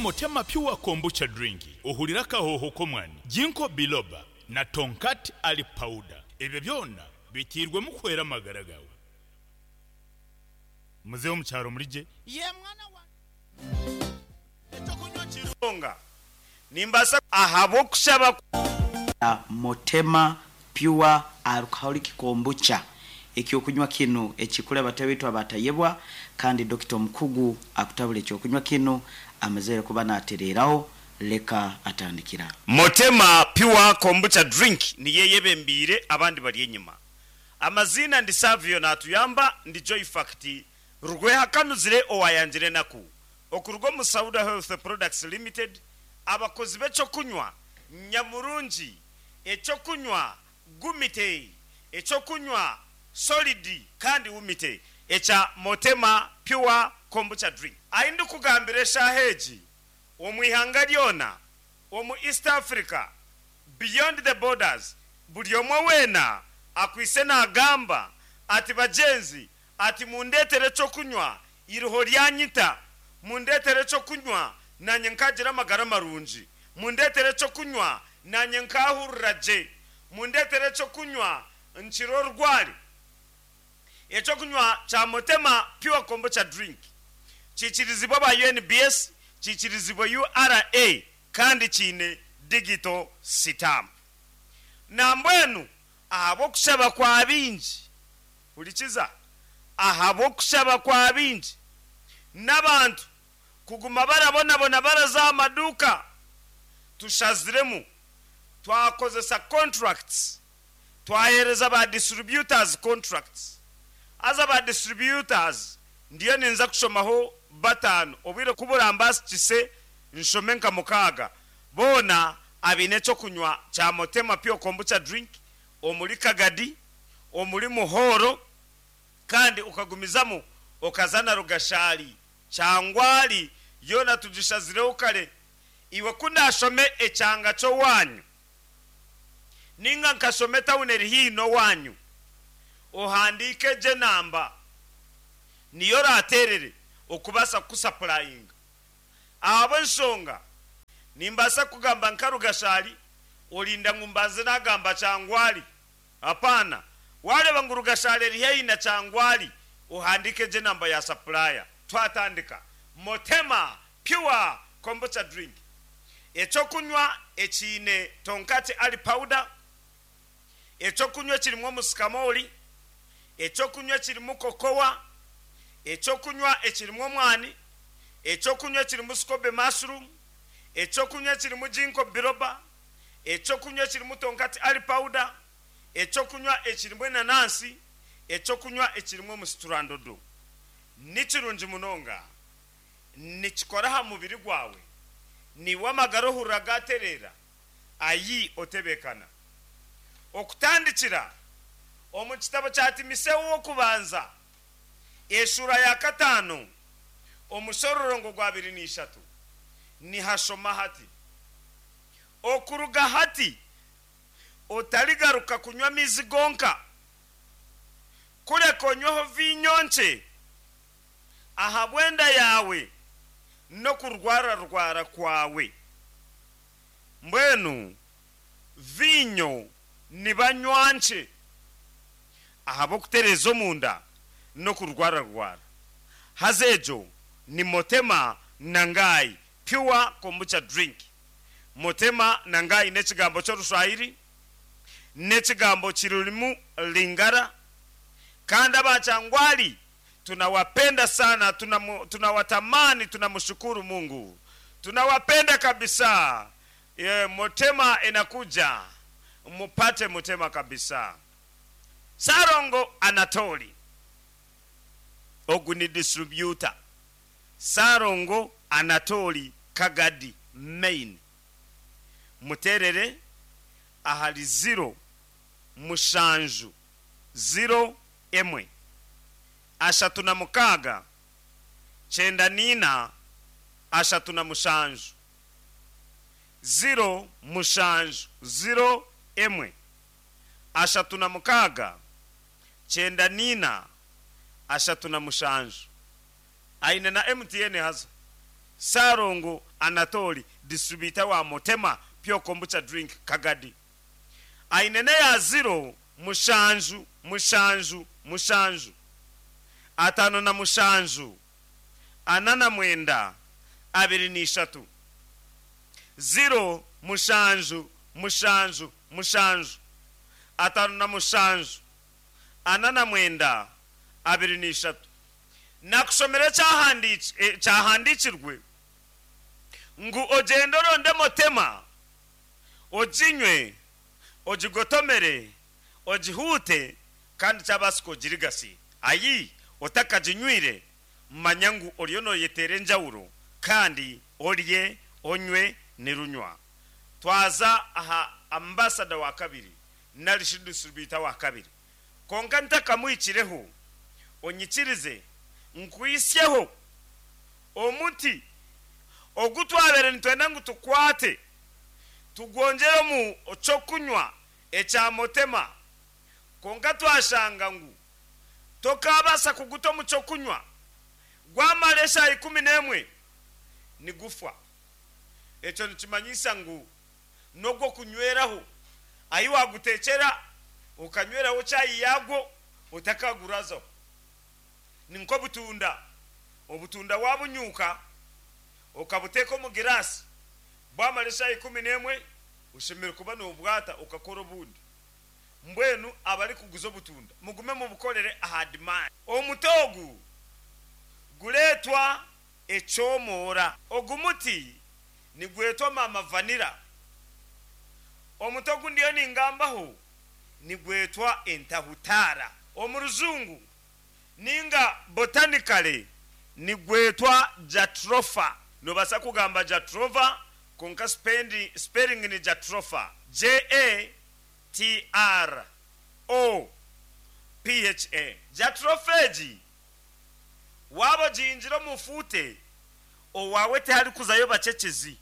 Motema Pure Kombucha Drink, ohurire akahooho k'omwani, Ginkgo Biloba na Tongkat Ali Powder. Ebyo byona biteirwemu kuhwera amagara gaawe. Muze omu kyaro murigye. Ye mwana wangye. Ekyokunywa kirunga. Nimbaasa. Ahabw'okushaba. Motema Pure Alcoholic Kombucha, Ekyokunywa kinu ekikuri abataahi baitu abatayebwa kandi dokita omukugu akutabura ekyokunywa kinu amazire kuba natereeraho leka atandikira. Motema Pure Kombucha Drink niyo eyebembeire abandi bari enyima. Amaziina ndi Savio Natuyamba ndi Joy Fact Rwehakanuzire owayangire enaku okuruga omu Sauda Health Products Limited abakozi b'ekyokunywa nyamurungi Ekyokunywa gumite, ekyokunywa solid kandi wumite ekya Motema Pure Kombucha Drink. Ahi ndikugambira eshaaha egi, omu ihanga ryona, omu East Africa, beyond the borders, buri omwe weena akwaitse naagamba ati bagyenzi, ati mundeetere ekyokunywa iriho ryanyita, mundeetere ekyokunywa naanye nkaagira amagara marungi. Mundeetere eky'okunywa, naanye nkaahurira gye. Mundeetere eky'okunywa, nkire orwari. Eky'okunywa kya Motema Pure Kombucha Drink kiikirizibwe aba UNBS, kiikirizibwe URA kandi kiine digital sitampu. Nambwenu ahabw'okushaba kwa baingi, hurikiza, ahabw'okushaba kwa baingi n'abantu kuguma barabonabona baraza aha maduuka, tushaziremu twakozesa contracts, twaheereza ba distributors contracts. Haza ba distributors ndiyo ninza kushomaho bataano, obwire ku burambasikise nshome nka mukaaga, boona abaine eky'okunywa kya Motema Pure Kombucha Drink omuri Kagadi, omuri Muhoro kandi okagumizamu okaza na Rugashari Kyangwali yoona tugishazireho kare. Iwe ku ndaashome ekyanga ky'owaanyu, nainga nkashoma etauni eri haihi n'owaanyu, ohandiike egyo enamba, niyo oraateerere okubaasa kukusapurayinga. Ahabw'enshonga, nimbaasa kugamba nka Rugashari, orinda ngu mbanze naagamba Kyangwali. Apaana. Waareeba ngu Rugashari eri haihi na Kyangwali, ohandiike gye enamba ya sapulaaya. Twatandika. Motema Pure Kombucha Drink, Eky'okunywa ekiine Tonkati Ali Powder, Eky'okunywa ekirimu omusikamooli, Eky'okunywa ekirimu kokowa, Eky'okunywa ekirimu omwani, Eky'okunywa ekirimu scobe mushroom, Eky'okunywa ekirimu Ginkgo biloba, Eky'okunywa ekirimu tonkati ali pawuda, eky'okunywa ekirimu enanansi, eky'okunywa ekirimu omusiturandodo. Ni kirungi munonga. Nikikora aha mubiri gwawe. Naiwe amagara ohurira gaatereera. Ayi otebeekana. Okutandikira omu kitabo kya Timiseo w'Okubanza, eshuura ya kataano, omushororongo gw'abiri n'ishatu, nihashoma hati. Okuruga hati otarigaruka kunywa amaizi gonka, kureka onyweho viinyo nkye ahabw'enda yaawe n'okurwararwara kwawe. Mbwenu viinyo nibanywa nkye ahabw'okutereeza omunda n'okurwararwara. Haza egyo ni Motema na Ngai Pure Kombucha Drink. Motema na Ngai n'ekigambo ky'Orushwahiri, n'ekigambo kirurimu Lingala, kandi aba Kyangwali tunawapenda sana, tunawatamani, tunamushukuru Mungu, tunawapenda kabisa. Motema inakuja, mupate Motema kabisa. Sarongo Anatoli, ogu ni distributor. Ssalongo Anatoli Kagadi Main muteerere ahari ziro mushanju ziro emwe 36 94 37 0 mushanju 0 emwe 36 94 37. Aine na MTN haza. Ssalongo Anatoli distributor wa Motema Pure Kombucha Drink Kagadi. Aine n'eya ziro mushanju mushanju mushanju 57 49 23. 0 mushanju mushanju mushanju 57 49 23. Nakushomera ekyahandiikirwe ngu ogyende oronde Motema, oginywe, ogigotomere, ogihuute kandi kyabaasika ogirigase. Ayi otakaginywire manya ngu oriyo nooyeteera enjawuro kandi orye onywe nirunywa. Twaza aha ambasada wa kabiri nari shi distributor wa kabiri. Kwonka ntakamuhikireho, onyikirize nkuhitsyeho omuti ogu twabaire nitwenda ngu tukwate tugwongyere omu ky'okunywa ekya Motema, kwonka twashanga ngu tokaabaasa kuguta omu ky'okunywa gwamara eshaaha 11 nigufa. Ekyo nikimanyisa ngu n'ogw'okunyweraho ahi waaguteekyera okanyweraho chai yaagwo otakagurazaho. Ni nk'obutunda, obutunda waabunyuuka okabuteeka omu giraasi bwamara eshaaha 11 oshemereire kuba noobwata okakora obundi. Mbwenu abarikuguza obutunda mugume mubukorere aha demand. Omuti ogu gureetwa ekyomoora. Ogu muti nigwetwa Mama Vanilla. Omuti ogu ndiyo ningambaho nigwetwa entahutaara. Omu rujungu ninga botanically nigwetwa Jatropha. Nobaasa kugamba Jatrova kwonka spelling ni Jatropha, J-A-T-R-O-P-H-A. Jatropha egi waaba ogihingire omu fuute, owaawe tiharikuzayo bakyekezi.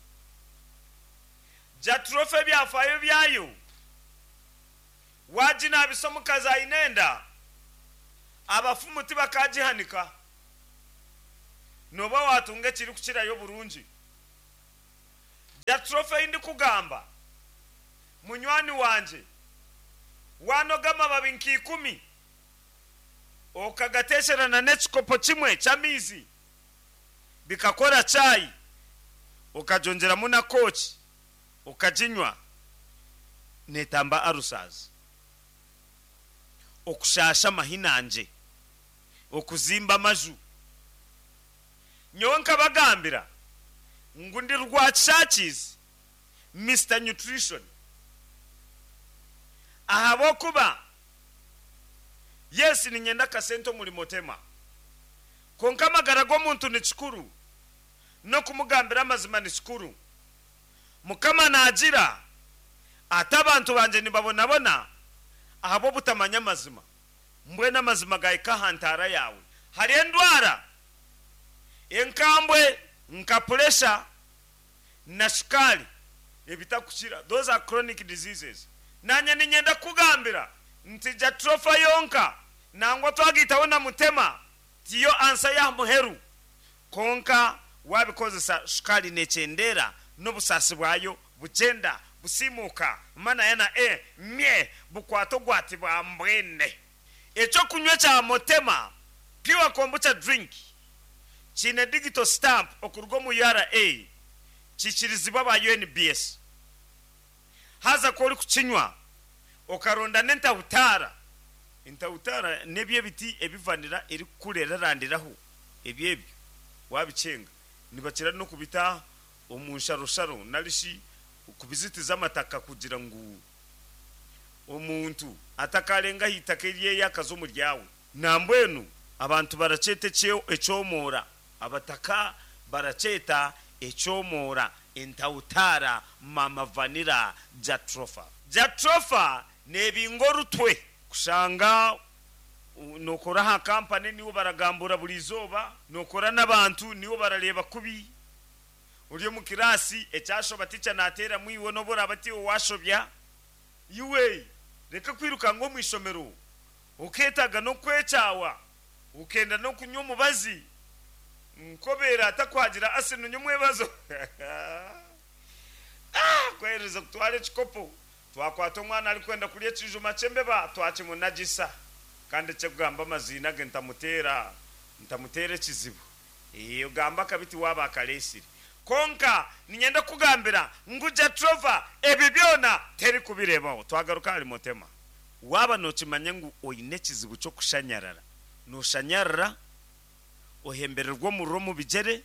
Jatropha ebyafaayo byayo waaginaabisa omukazi aine enda, abafumu tibakaagihanika. Nooba waatunga ekirikukirayo oburungi. Jatropha ei ndikugamba, munywani wangye, waanoga amababi nka ikumi, okagateekyerana n'ekikopo kimwe ky'amaizi, bikakora chai, okagyongyeramu na kooki, okaginywa, neetamba alusazi, okushaasha amahinangye, okuzimba amaju. Nyowe nkabagambira ngu ndi Rwakishakizi Mister Nutrition ahabw'okuba yes niinyenda akasente omuri Motema kwonka amagara g'omuntu ni kikuru n'okumugambira amazima ni kikuru. Mukama naagira ati abantu bangye nibabonabona ahabw'obutamanya amazima. Mbwenu amazima gaahika aha ntaara yaawe. Hariho endwara enkambwe nka puresha na shukaari ebitakukira, those are chronic diseases. Naanye niinyenda kukugambira nti Jatropha yonka nangwa twagaitaho na Mutema tiyo ansa y'aha muheru. Kwonka waabikozesa shukaari neekyendeera n'obusaasi bwayo bugyenda busiimuuka mana ya na e mye bukwata ogwati bwa mbwene. Ekyokunywa ekya Motema Pure Kombucha Drink kiine digital stamp okuruga omu ura kikirizibwa aba UNBS. Haza ku orikukinywa okaronda n'entahutaara, entahutaara n'ebyo ebiti ebi vanilla erikukura erarandiraho, ebyo ebyo waabikyenga nibakira n'okubita omu nsharosharo nari shi kubizitiza amataka kugira ngu omuntu atakarenga aha itaka eryeye akaza omu ryawe. Nambwenu abantu barakyeta ekyomoora, abataka barakyeta ekyomoora entahutaara mama vanilla jatropha. Jatropha neebinga orutwe. Kushanga nookora aha kampani niiwe baragambura buri izooba, nookora n'abantu niiwe barareeba kubi, ori omu kiraasi ekyashoba ticha naateeramu iwe n'obu oraabe tiiwe waashobya. Iwe reka kwirukanga omu ishomero okeetaaga n'okwekyawa okenda n'okunywa omubazi. Nkobeera atakwagira asinu nyomwebazo. Ah, kwereza kutwara ekikopo twakwata omwana arikwenda kurya ekijuma ky'embeba twakimunagisa kandi ekyekugamba amaziina ge ntamuteera ntamuteera ekizibu. Ee, ogamba akabi tiwaaba akareesire. Kwonka niinyenda kukugambira ngu Jatropha ebi byona terikubireebaho. Twagaruka ahari Mutema. Waaba nookimanya ngu oine ekizibu ky'okushanyarara, nooshanyarara, ohembererwa omuriro omu bigyere,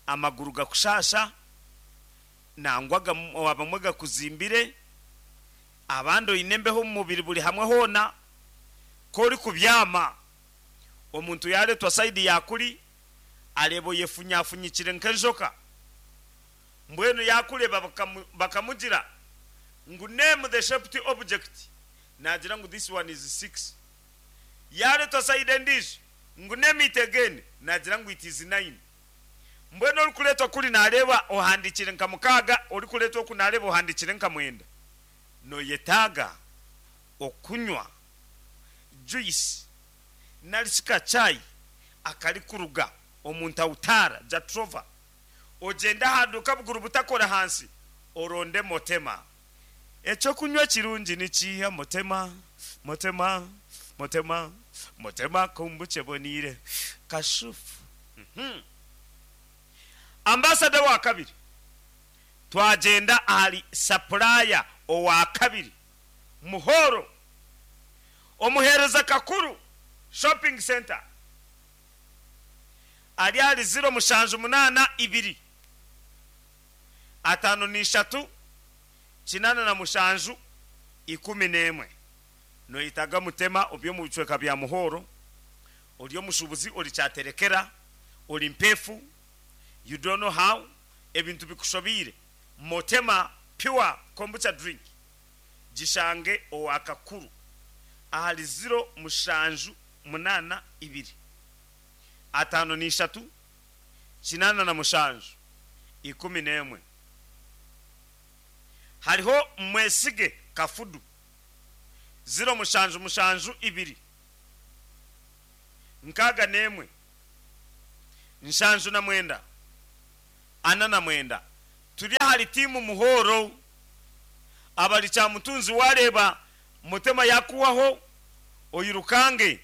amaguru gakushaasha, nangwa abamwe gakuzimbire, abandi oine embeho omu mubiri buri hamwe hoona, ku orikubyama omuntu yaareetwa sayidi ya kuri areeba oyefunyafunyikire nk'enjoka, mbwenu yaakureeba bakamugira ngu name the shaped object, naagira ngu this one is six. Yaareetwa sayidi endiijo ngu name it again, naagira ngu it is nine. Mbwenu orikureetwa kuri naareeba ohandiikire nka mukaaga, orikureetwa oku naareeba ohandiikire nka mwenda. Nooyetaaga okunywa juyisi nari shi ka chai akarikuruga omu ntawutaara, jatropha. Ogyende aha duuka buguru butakora ahansi oronde Motema. Eky'okunywa kirungi ni kiiha? Motema, Motema, Motema, Motema kombucha eboneire. Kashufu. Uhmm. Ambasada owa kabiri, Twagyenda ahari sapulaaya owa kabiri, Muhoro, omuheereza Kakuru Shopping Centre ari ahari ziro mushanju munaana ibiri ataano n'ishatu 87 11. Noyetaga Mutema ori omu bicweka bya Muhoro, ori omushuubuzi, ori kyaterekera, ori mpeefu, you don't know how, ebintu bikushobeire, Motema Pure Kombucha Drink gishange owa Kakuru ahari ziro mushanju munaana ibiri 53 87 11. Hariho Mwesige Kafudu, ziro mushanju mushanju ibiri 61 79 49. Turi ahari tiimu Muhoro abari Kyamutunzi wareeba Mutema yakuhwaho oyirukange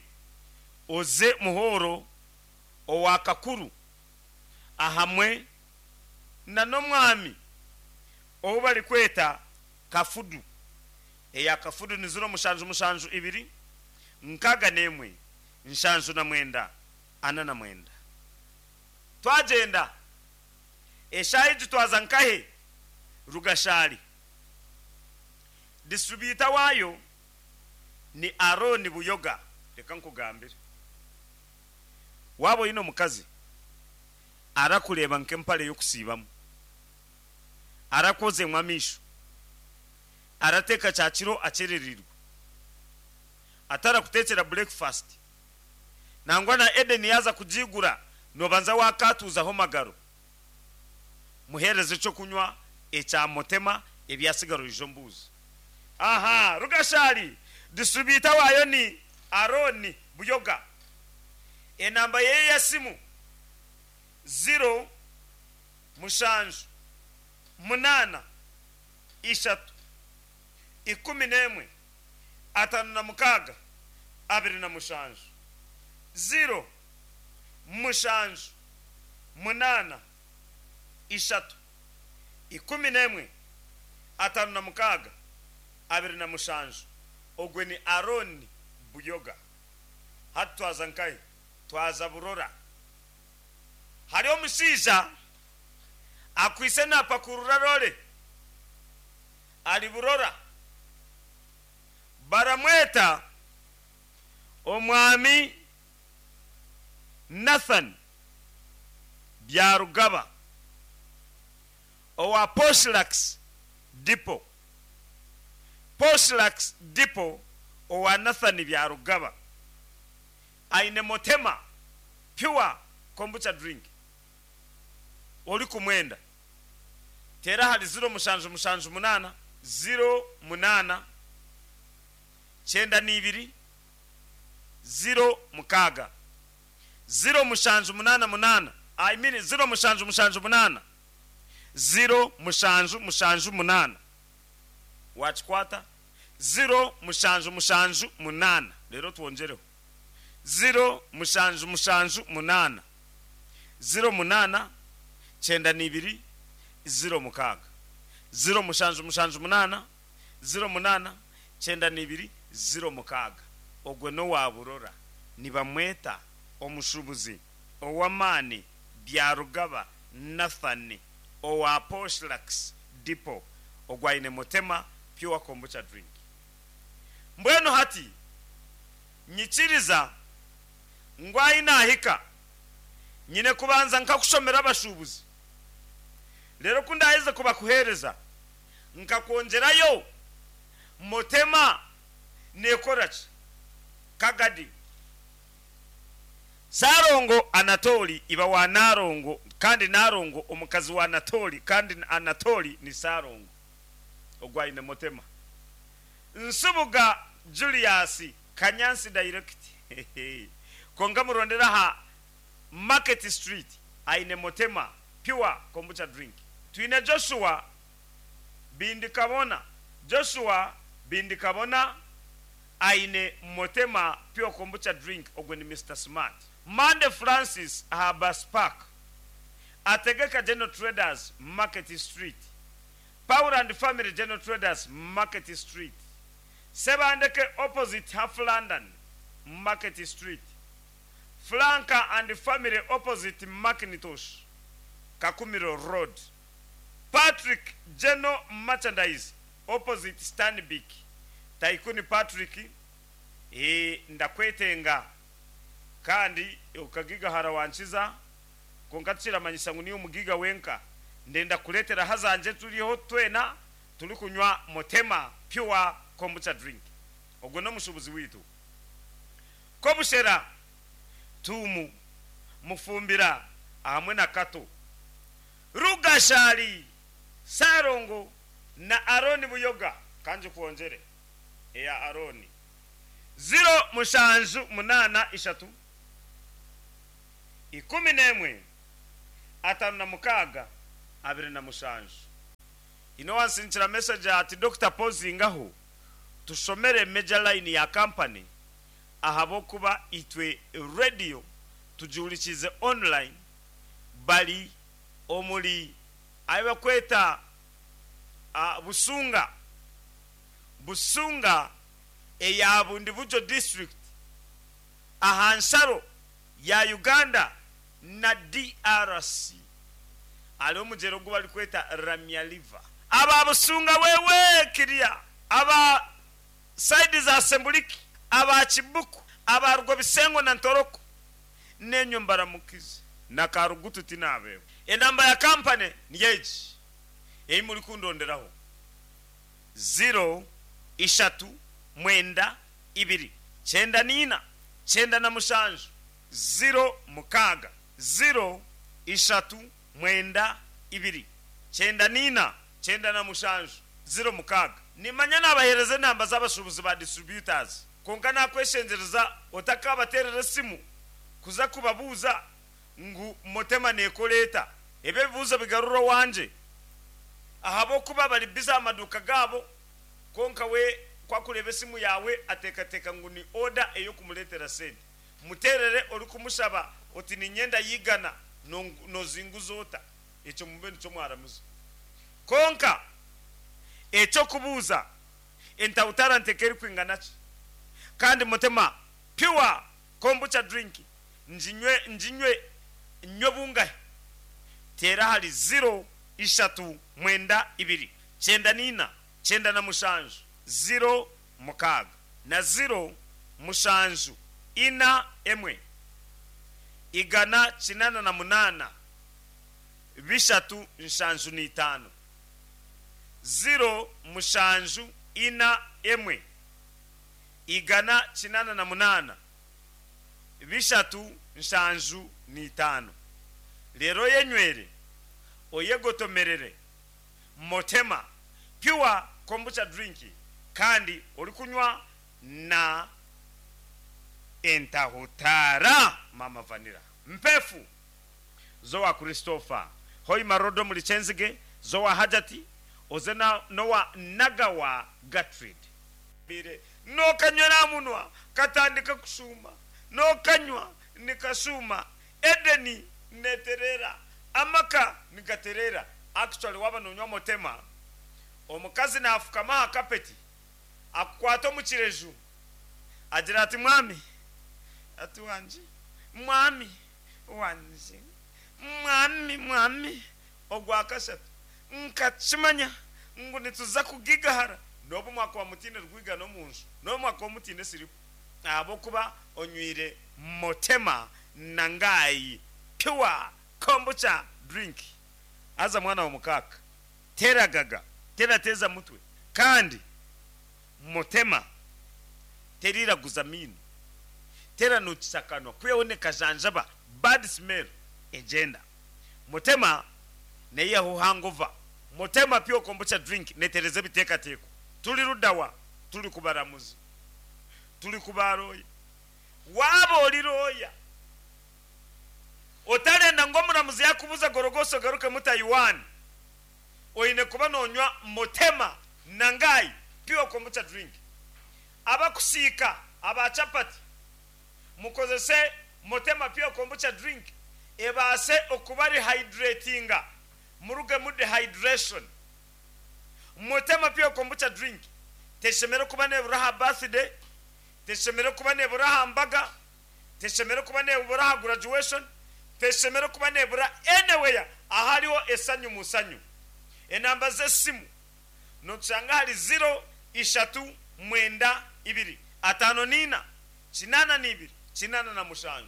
oze Muhoro owa Kakuru ahamwe na n'omwami ou barikweta Kafudu. Eya Kafudu ni ziro mushanju mushanju ibiri 61 79 49. Twagyenda eshaaha egi twaza nkahe? Rugashari. Disitribyuta waayo ni Arooni Buyoga. Reka nkugambire, waaba oine omukazi arakureeba nk'empare y'okusiibamu, arakwozemu amaisho, arateeka kyakiro akyerereirwe, atarakuteekyera bureekifasiti, nangwa na Eden yaaza kugiigura noobanza waakaatuuzaho magaro, muheereze ekyokunywa ekya Motema ebyatsigara oije ombuuze. Aha Rugashari, disitribyuta waayo ni Arooni Buyoga. Enamba ye y'esimu ziro mushanju munaana ishatu 11 56 27, ziro mushanju munaana ishatu 11 56 27. Ogwe ni Arooni Buyoga. Hati twaza nkahi? Twaza Burora. Hariyo omushaija akwaitse naapakurura roore ari Burora. Baramweta Omwami Nathan Byarugaba owa Poshlax Depot. Poshlax Depot owa Nathan Byarugaba aine Motema Pure Kombucha Drink. Orikumwenda teera ahari ziro mushanju mushanju munaana, ziro munaana 92 0 6, 0788, I mean 0778, 0778. Waakikwata? 0778. Reero twongyereho. 0778, 08, 92, 06. 0778, 08, 92, 06. Ogwo n'owa Burora. Nibamweta omushuubuzi ow'amaani Byarugaba Nathan owa Poshlux Depot ogwo aine Motema Pure Kombucha Drink. Mbwenu hati nyikiriza ngu ahi naahika nyine kubanza nkakushomera abashuubuzi reero ku ndaaheze kubakuheereza nkakwongyerayo Motema neekora ki? Kagadi. Ssalongo Anatoli iba wa Nalongo kandi Nalongo omukazi wa Anatoli kandi Anatoli ni Ssalongo ogwo aine Motema. Nsubuga Julius Kanyansi Direct kwonka murondere aha Market Street aine Motema Pure Kombucha Drink. Twine Joshua Bindikabona Joshua Bindikabona aine Motema Pure Kombucha Drink ogwe ni Mister Smart. Mande Francis aha Bus Park, Ategeka General Traders Market Street, Paul and Family General Traders Market Street, Sebandeke opposite Half London Market Street, Flanka and Family opposite Macintosh Kakumiro Road, Patrick General Merchandise opposite Stanbic Taikuni Patrick Eeh ndakwetenga kandi okagigahara wankiza kwonka tikiramanyisa ngu niiwe mugiga wenka ndenda kukureetera ahazangye turiho twena turikunywa Motema Pure Kombucha Drink ogwo n'omushuubuzi waitu Kobushera Tuumu Mufumbira ahamwe na Kato Rugashari Ssalongo na Arooni Buyoga ka ngikwongyere eya Arooni, ziro mushanju munaana ishatu, 11, 56, 27. Haine owansindikira message ati Dokita pozingaho tushomere major line ya company ahabw'okuba itwe radio tugihurikiize online bari omuri ahi barikweta Busunga, Busunga eya Bundibugyo District aha nsharo ya Uganda na DRC hariho omugyera ogu barikweta Ramya River. Aba Busunga wewe kiriya, aba sayidi za Semuliki, aba Kibuku, aba Rwobisengo na Ntoroko n'enyo mbaramukize na Karugutu tinabeebwa. Enamba ya kampani niyo egi ei murikundonderaho, ziro ishatu mwenda ibiri 94 97 06, 0 ishatu mwenda ibiri 94 97 06. Nimanya naabaheereza enamba z'abashuubuzi ba distributors kwonka naakweshengyereza otakaabateerera esimu kuza kubabuuza ngu Motema neekora eta. Ebi ebibuuzo bigarure owangye ahabw'okuba bari bize aha maduuka gaabo kwonka we ku akureeba esimu yaawe ateekateeka ngu ni oda ey'okumureetera sente. Muteerere orikumushaba oti niinyenda y'eigana noozinguza ota? Ekyo mube nikyo mwaramuza. Kwonka eky'okubuuza entawutarante k'erikwingana ki? Kandi Mutema Pure Kombucha Drink nginywe nginywe nywe bungahi? Teera ahari ziro ishatu mwenda ibiri 94 97 06 na ziro mushanju ina emwe 188 375, 0741 188 375. Reero oyenywere, oyegotomerere Motema Pure Kombucha Drink kandi orikunywa na. Entahutaara Mama Vanilla Mpefu z'owa Christopher Hoima Road omuri Kyenzige, z'owa Hajati oze na n'owa Nagawa Gertrude. Bire nokanywera aha munwa katandika kushuuma, nokanywa nikashuuma, Edeni netereera, amaka nigatereera. Actually waaba nonywa Motema, omukazi nafukama aha kapeti akukwata omu kireju agira ati mwami ati wangye, mwami wangye, mwami mwami ogwakashatu nkakimanya ngu nituza kugigahara n'obu mwakuba mutaine rwigano omu nju, n'obu mwakuba mutaine siripu ahabw'okuba onywire Motema Nangai Pure Kombucha Drink. Haza mwana wa mukaaka, teragaga, terateeza mutwe kandi Motema teriraguza maino, teranuukisa akanwa kwihaho nekajanjaba bad smell egyenda. Motema neyihaho hangover. Motema Pure Kombucha Drink netereza ebiteekateeko. Turi rudawa? Turi ku baramuzi? Turi ku ba looya? Waaba ori looya, otarenda ngu omuramuzi yaakubuuza gorogosa ogarukemu Taiwan, oine kuba noonywa Motema Nangai Pure Kombucha Drink. Abakusiika aba chapati, mukozese Motema Pure Kombucha Drink ebaase okuba rehydratinga murugemu dehydration. Motema Pure Kombucha Drink teshemereire kuba nebura aha birthday, teshemereire kuba nebura aha mbaga, teshemereire kuba nebura aha graduation, teshemereire kuba nebura anywhere ahariho esanyu musanyu. Enamba z'esimu notushanga ahari ziro ishatu mwenda ibiri 54 82 87.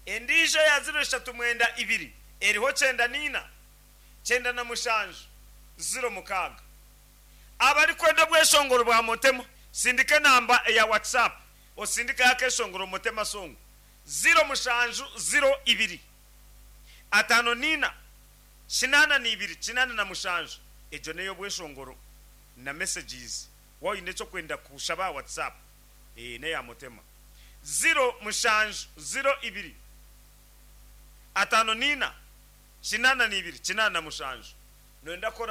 Endiijo eya ziro ishatu mwenda ibiri eriho 94 97 06. Abarikwenda obweshongoro bwa Motema, sindika enamba eya WhatsApp osindikeho akeshongoro Motema Song ziro mushanju ziro ibiri 54 82 87. Egyo n'ey'obweshongoro na messages. Waaba oine eky'okwenda kushaba aha WhatsApp, n'eya Motema ziro mushanju ziro ibiri 54 82 87. Nooyenda kukora.